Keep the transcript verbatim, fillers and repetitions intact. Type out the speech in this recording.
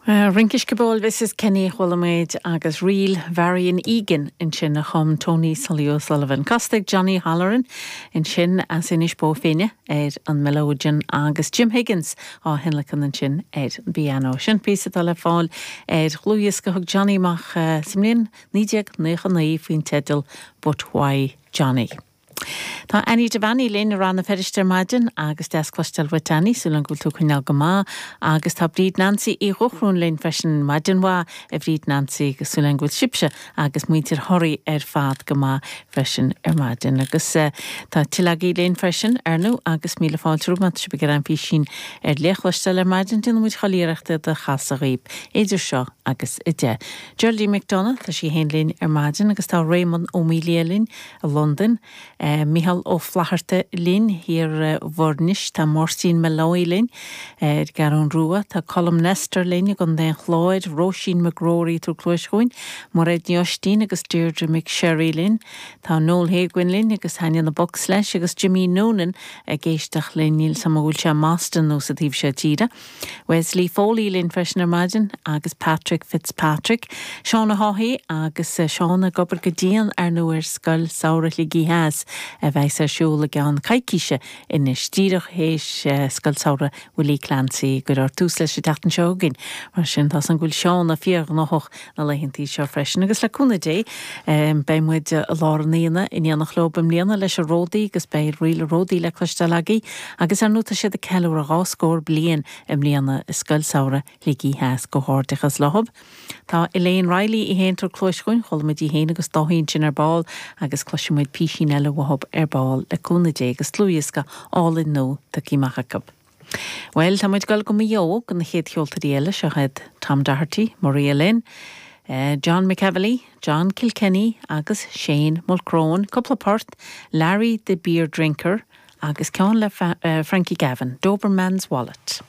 Rince Sciobóil Mrs Kenny chuala muid agus ríl Marion Egan ansin a chum Tony Sully O'Sullivan. Casta ag Johnny Halloran ansin as Inis Bó Finne ar an melodeon agus Jim Higgins á thionlacan ansin ar an bpianó. Sin píosa atá le fáil ar dhlúthdhiosca thug Johnny amach sa mbliain naoi déag nócha naoi faoin teideal But Why Johnny. Tá Annie Devaney linn i Rann na Feirste ar maidin agus deas cloisteáil uait Annie súil agam go bhfuil tú coinneáil go maith agus tá Bríd Nancy Uí Dhochrún linn freisin maidin mhaith a Bhríd Nancy agus súil agam go bhfuil sibhse agus muintir Thoraí ar fad go maith freisin ar maidin agus uh, tá tuilleadh agaibh linn freisin ar ndóigh agus míle fáilte romhaibh má tá sibh ag iarraidh an físín ar le chloisteáil ar maidin déanfaidh muid chuile iarracht é a chasadh dhaoibh idir seo agus a deich. Geraldine McDonough tá sí féin linn ar maidin agus tá Raymond Ó Mília linn i Londain. Uh, Michal Ó Flatharta linn thiar i bhFoirnis tá Máirtín Molloy linn ar Cheathrú Rua tá Colm Nestor linn i gContae an Chláir, Róisín McGrory tú cloischuin, Mairéad Ní Oistín agus Deirdre McSherry linn, Tá Noel Haguin linn agus Hania na Box leis agus Jimmy Noonan ag éisteacht linn níl sam bhfuil sé Boston nó sa taobh seo tíre. Wesley Foley linn freisin ar maidin agus Patrick Fitzpatrick, Seána Haughey agus eh, Seán ag obair go dian ar ndóigh ar Scoil Samhraidh Shligigh Theas a bheas ar siúl i gceann coicíse anois díreach théis eh, Scoil Samhraidh Willie Clancy go raibh tús leis an tseachtain seo chugainn mar sin tá an bhfuil Seána fíorghnóthach na laethantaí seo freisin agus le cúnamh Dé beidh muid i lár an aonaigh in éineacht leo i mbliana leis an Ródaí agus beidh ríl Ródaí le cloisteáil agaibh agus ar ndóigh tá siad ag ceiliúradh dhá scór bliain i mbliana i Scoil Samhraidh Shligigh Theas comhghairdeachas leo. Tá Elaine Riley í féin ag tabhairt cluas chugainn, chuala muid í féin agus Dáithí ansin ar ball agus cloisfidh muid písín eile uathu ar ball le cúnamh Dé agus dlúthdhiosca álainn nua tagtha amach acu. Well tá muid ag dul go Maigh Eo go na chéad cheoltóirí eile seo iad Tom Doherty, Maria Lynn, uh, John McEvely, John Kilkenny agus Shane Mulcrone, cúpla port, Larry the Beer Drinker agus ceann le uh, Frankie Gavin, Doberman's Wallet.